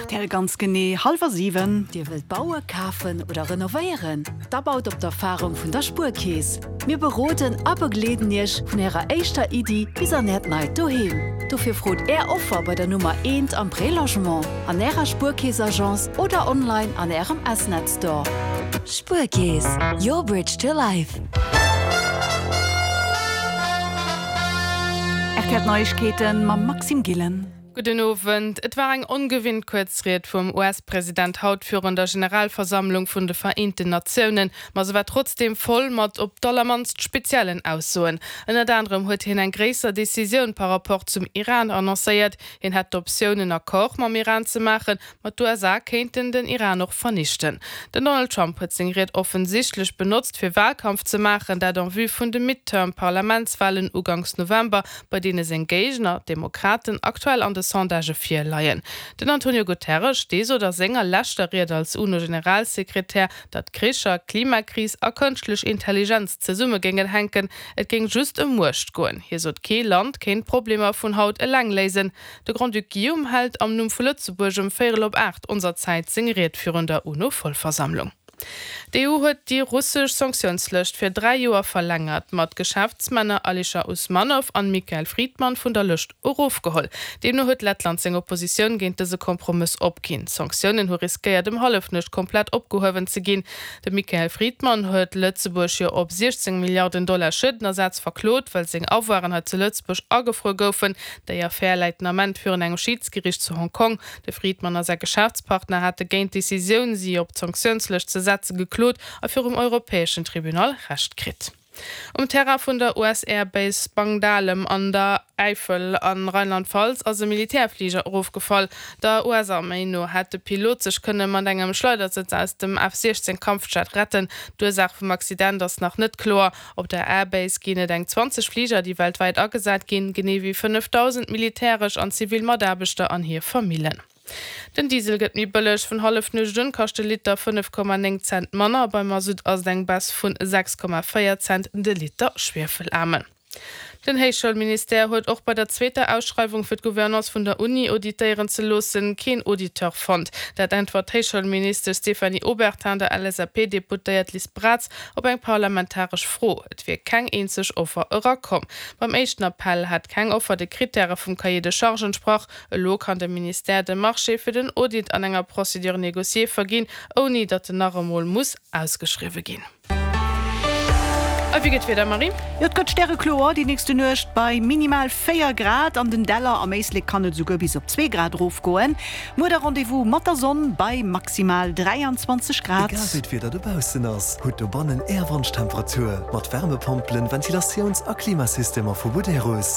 Rtl ganz genee hallwer 7. Dir wëllt baue, kafen oder renovéieren? Da baut op d'Erfarung vun der Spuerkeess. Mir beroden a begleeden Iech vun Ärer éischter Iddi bis an Äert neit Doheem. Dofir frot Är Offer bei der Nummer eent am Prélogement, an Ärer Spuerkeess-Agence oder online an Ärem S-Net Store. Spuerkeess, your bridge to life. Rtl Neiegkeeten mam Maxime Gillen. Gudden Owend. Et war eng ongewinnt kuerz Ried vum US-President haut virun der Generalversammlung vun de Vereenten Natiounen, ma se war trotzdeem voll mat op d'allermannst speziellen Aussoen. Ënnert anerem huet hien eng gréisser Decisioun par Rapport zum Iran annoncéiert. Hien hätt d'Optioun en Accord mam Iran ze maachen, Ma d'USA kéinten den Iran och vernichten. Den Donald Trump huet seng Ried offensichtlech benotzt, fir Walkampf ze maachen, dat en vue vun de Midterm-Parlamentswalen uganks November, bei deene seng Géigner, d'Demokraten, aktuell an de Sondagë vir leien. Den Antonio Guterres, dee sot a senger leschter Ried als UNO-Generalsekretär, datt Kricher, Klimakris a kënschtlech Intelligenz zesumme géingen hänken, et géing just ëm Muecht goen. Hie sot, kee Land kéint d'Problemer vun haut eleng léisen. De Grand-Duc Guillaume hält am Numm vu Lëtzebuerg ëm véierel op 8 onser Zäit seng Ried virun der UNO-Vollversammlung. D'EU huet déi russesch Sanktiounslëscht fir 3 Joer verlängert, ma d'Geschäftsmänner Alischer Usmanow an Mikhail Fridman vun der Lëscht erofgeholl. Deemno huet Lettland seng Oppositioun géint dëse Kompromëss opginn. D'Sanktiounen hu riskéiert ëm Hallefnuecht komplett opgehuewen ze ginn. De Mikhail Fridman huet Lëtzebuerg jo op 16 Milliarden Dollar Schuedenersaz verklot, well seng Avoiren hei zu Lëtzebuerg agefruer goufen. Déi Affär läit den Ament virun engem Schidsgeriicht zu Hong Kong. De Fridman a säi Geschäftspartner hate géint d'Decisioun, si op d'Sanktiounslëscht ze setze geklot a virum europäeschen Tribunal Recht kritt. Um Terrain vun der US-Air Base Spangdahlem an der Äifel a Rheinland-Pfalz ass e Militärfliger erofgefall. Der US-Arméi no hätt de Pilot sech kënne mat engem Schleidersëtz aus dem F-16 Kampfjet retten. D'Ursaach vum Accident ass nach net kloer. Op der Airbase ginn et eng 20 Fliger, déi weltwäit agesat ginn, genee wéi 5.000 militäresch an zivil Mataarbechter an hir Famillen. Den Diesel gëtt méi bëlleg, Vun Hallefnuecht un kascht de Liter 5,9 Cent manner, beim Masutt ass et eng Baisse vun 6,4 Cent de Liter Schwiefelaarmen. Den Héichschoulministère huet och bei der zweeter Ausschreiwung fir d'Gouvernance vun der Uni auditéieren ze loossen, keen Auditeur fonnt. Dat äntwert d'Héichschoulministesch Stéphanie Obertin der LSAP-Deputéiert Liz Braz op eng parlamentaresch Fro. Et wier keng eenzeg Offer erakomm. Beim éischten Appell hätt keng Offer de Krittäre vum Cahier de charges entsprach. Elo kann de Ministère de Marché fir den Audit an enger Procédure négociée verginn, ouni datt en nach emol muss ausgeschriwwe ginn. A wéi gëtt d'Wieder, Marie? Jo, et gëtt stärekloer déi nächste Nuecht bei minimal 4 Grad. An den Däller am Éislek kann et esouguer bis op 2 Grad erofgoen. Muer da Rendez-vous mat der Sonn bei maximal 23 Grad. Egal wéi d'Wieder dobaussen ass, hutt dobannen Är Wonschtemperatur mat Wärmepompelen, Ventilatiouns a Klimasystemer vu Buderus.